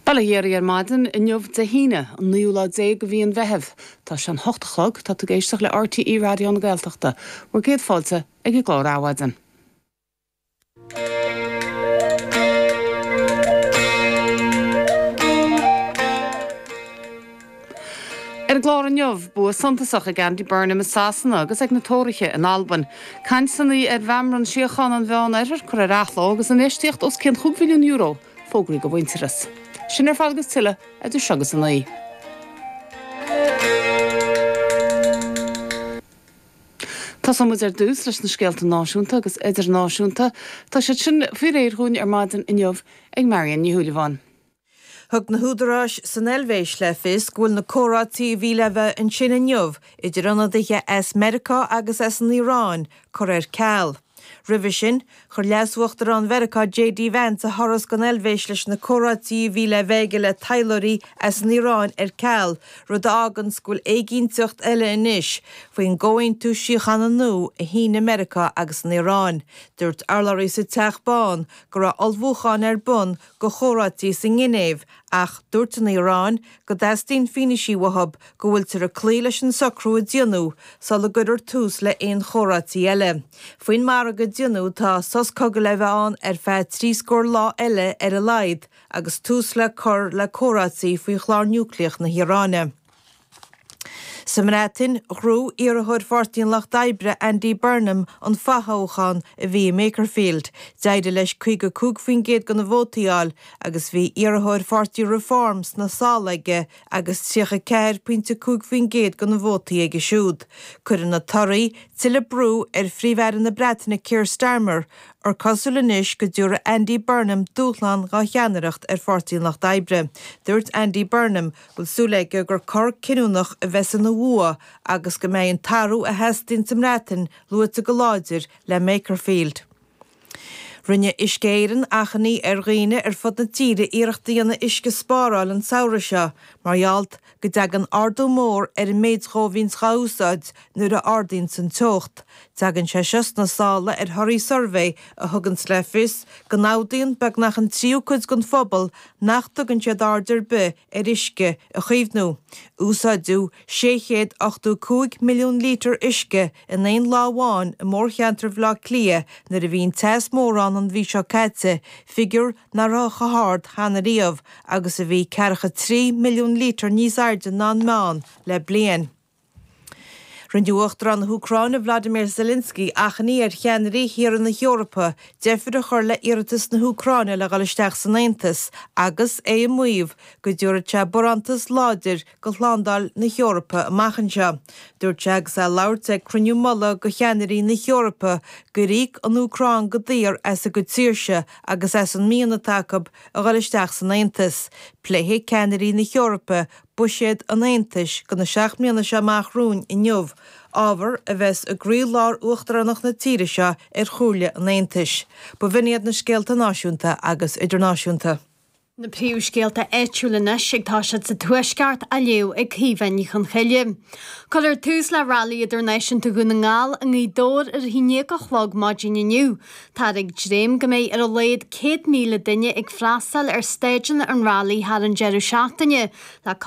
Bail ó Dhia oraibh ar maidin inniu Dé hAoine, an naoú lá déag de mhí an Mheithimh. Tá sé an hocht a chlog, tá tú ag éisteacht le RTÉ Raidió na Gaeltachta. Bhur gcéad fáilte ag an gclár Adhmhaidin. Ar an gclár inniu, bua suntasach ag Andy Burnham i Sasana agus ag na Tóraithe in Albain. Cainteanna ar Mheamram Síochána an Mheán-Oirthir curtha ar athló agus infheistíocht os cionn chúig bhilliún euro fógraithe do Mhuintearas. Sin ar fad agus tuilleadh idir seo agus a naoi. Tosóidh muid ar dtús leis na scéalta náisiúnta agus idirnáisiúnta. Tá siad sin faoi réir dhúinn ar maidin inniu ag Marion Ní Shúilleabháin. Thug na húdaráis san Eilvéis le fios go bhfuil na comhráití a bhí le bheith ansin inniu idir ionadaithe as Meiriceá agus as an Iaráin curtha ar ceal. Roimhe sin, chuir Leas-Uachtarán Mheiriceá JD Vance a thuras don Eilvéis leis na comhráití a bhí le bheith aige le taidhleoirí as an Iaráin ar ceal, rud a fháganns go bhfuil éiginnteacht eile anois faoin gcomhaontú síochána nua a shínigh Meiriceá agus an Iaráin. Dúirt urlabhraí sa Teach Bán go raibh ullmhúcháin ar bun go chomhráití sa nGinéiv ach dúirt an Iaráin go dteastaíonn fianaisí uathu go bhfuiltear ag cloí leis an socrú a déanadh sula gcuirfear tús le haon chomhráití eile. Faoin margadh a déanadh tá sos cogaidh le bheith ann ar feadh trí scór lá eile ar a laghad agus tús le cur le comhráití faoi chlár núicléach na hIaráine. Sa mBreatain, ghnóthaigh iarrthóir Pháirtí an Lucht Oibre, Andy Burnham, an fothoghchán a bhí i mBakerfield. D'éirigh leis 55% de na vótaí a fháil agus bhí iarrthóir Pháirtí Reform sna sála aige agus 34.5% de na vótaí aige siúd. Cuireann na torthaí tuilleadh brú ar Phríomh-Aire na Breataine Keir Starmer, ar cosúil anois go dtabharfaidh Andy Burnham dúshlán dá cheannaireacht ar Pháirtí an Lucht Oibre. Dúirt Andy Burnham go bhfuil súil aige gur cor cinniúnach a bheas ina bhua agus go mbeidh an t-athrú a theastaíonn sa mBreatain luaite go láidir le Makerfield. Rinne Uisce Éireann achainí ar dhaoine ar fud na tíre iarracht a dhéanamh uisce a spáráil an samhradh seo mar gheall go dtagann ardú mór ar an méid dhó a bhíonns dhá úsáid nuair a ardaíonns an teocht. Tagann sé seo sna sála ar thorthaí suirbhé a thuganns le fios go n-admhaíonn beagnach an tríú cuid den phobal nach dtugann siad aird ar bith ar uisce a chaomhnú. Úsáideadh 685 milliún lítear uisce in aon lá amháin i mórcheantar Bhaile Átha Cliath nuair a bhí an teas mór ann an mhí seo caite, figiúr nach raibh chomh hard cheana riamh agus a bhí ceathracha 3 milliún lítear níos airde ná an meán le bliain. Rinne Uachtarán na hÚcráine Vladimir Zelensky achainí ar cheannairí thíortha na hEorpa deifir a chur le iarratas na hÚcráine le dhul isteach san Aontas agus é ag maíomh go dtabharfadh sé barántas láidir go shlándáil na hEorpa amach anseo. Dúirt sé agus é ag labhairt ag cruinniú mullaigh go cheannairí na hEorpa gur íoc an Úcráin go daor as a gcuid saoirse agus as an mian atá acu a dhul isteach san Aontas. Pléifidh ceannairí na hEorpa buiséad an Aontais go na 7 mbliana seo amach romhainn inniu, ábhar a bheas i gcroí-lár uachtaránacht na tíre seo ar Chomhairle an Aontais. B'in iad na scéalta náisiúnta agus idirnáisiúnta. Na príomhscéalta áitiúla anois ag toiseacht sa Tuaisceart á léamh ag Caoimhe Ní Chonchoille. Cuirfear tús le Railí Idirnáisiúnta Dhún na nGall i nGaoth Dobhair ar a haon déag a chlog maidin inniu. Táthar ag dréim go mbeidh ar a laghad 100,000 duine ag freastal ar stáideanna an Railí thar an deireadh seachtaine le.